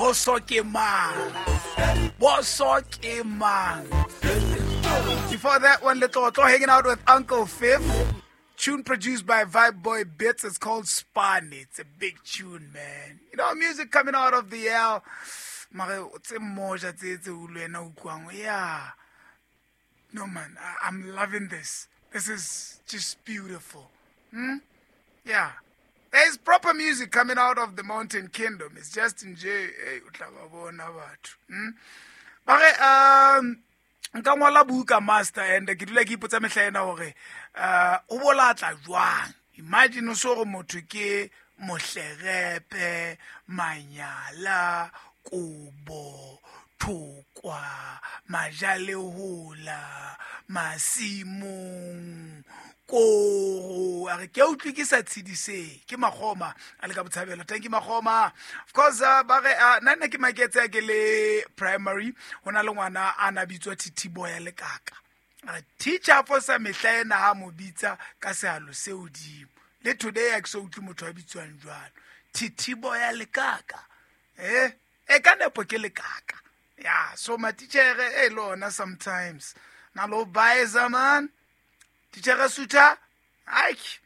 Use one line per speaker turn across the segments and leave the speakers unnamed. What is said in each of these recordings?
Boso ke mang? Boso ke mang? Before that one, Letlotlo hanging out with Uncle Fifth. Tune produced by Vibe Boy Bits. It's called Span. It's a big tune, man. You know, music coming out of the L. Mare tse moja tse tse utlwena utlwang. Yeah. No, man, I'm loving this. This is just beautiful. Hmm? Yeah. There's proper music coming out of the Mountain Kingdom. It's just nje, hey, o tla ba bona batho. Hmm? Ba re, nka ngwala buka master and ke dula ke ipotsa mehla ena hore o bolatla jwang. Imagine o so gore motho ke mohlerepe, manyala, kobo, thokwa, majalehola, masimong, koro. A re ke a utlwe ke sa tshediseng. Ke Makgoma a le ka Botshabelo. Thank you Makgoma. Of course, ba re, nna nna ke maketse a ke le primary, ho na le ngwana a na bitswa Thithiboya Lekaka. A re, teacher fosa mehla ena ha mo bitsa ka sehalo se hodimo. Le today ha ke so utlwe motho a bitswang jwalo. Thithiboya Lekaka. E ka nepo ke lekaka. Yeah, so matitjhere e le ona sometimes. Na lo baeza man. Titjhere Suta. Aik.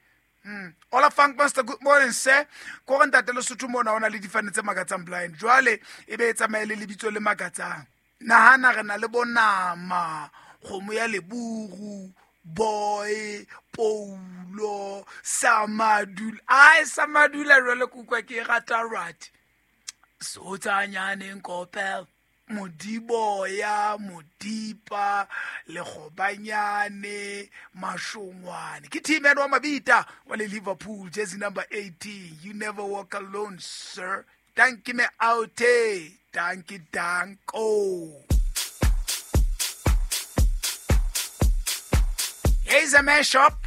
Ola Funk Master, good morning sir. Ko re ntate Lesotho mona ona le difane tse makatsang blind. Jwale e be e tsamaye le lebitso le makatsang. Nahana re na le bonama, kgomo ya leburu, boy, Paulo, Samadula. Ai Samadula jwale ke utlwa ke e rata right. Sotsanyane Nkopel, Modiboya, Modipa, Lekgobanyane, Mashongwane. Ke team wa Mabita wa le Liverpool, jersey number 18. You never walk alone, sir. Thank you, me out. Thank you, danko. Here's a man shop.